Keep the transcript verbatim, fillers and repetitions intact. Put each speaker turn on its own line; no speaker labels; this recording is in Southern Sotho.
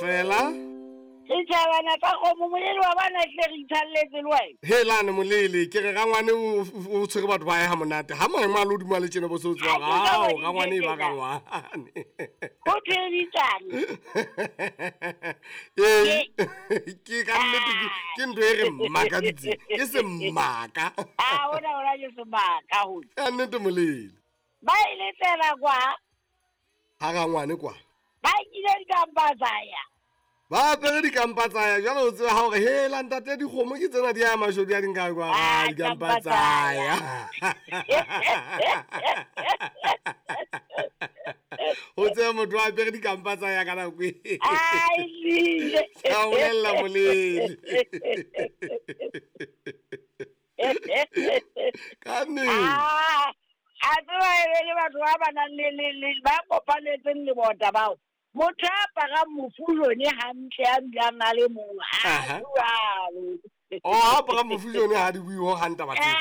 Fela.
Setjhabana tsa kgomo molele wa bana hle re itshalletse le wena.
Helane molele ke re rangwane o o tshwere batho ba hae ha monate. Ha maemo a lehodimo a le tjena bo se o tseba
Ha ke sa
hao
bona
rangwane e ba
tjena.
rangwane.
Ho thweditsane.
Ee, ke ka nnete ke ke ntho e re mmakaditseng. Ke semaka.
Ah, ona ona ke semaka ho.
Ka nnete molele.
Ba ile tsela kwa,
Ha rangwane kwa.
ba nkile dikampa tsa ya.
Ba apere dikampa tsa ya jwale o tseba ha hore hela ntate dikgomo ke tsena di ya mashodu a di nka kwa
Ah,
dikampa
dikampa
tsa
tsa
ya. Ho tseba motho a apere dikampa tsa ya ka nako e.
Ai, ehlile.
Ka o bolella molele. Ka nnete.
Ah, a tseba e be le batho ba ba nang le le le ba kopanetseng lebota bao. Motho a aparang mofujone hantle a dulang a le mong, ha
Aha.
jwalo.
Oh, ha apara mofujone ha di bue ho hang taba tseo.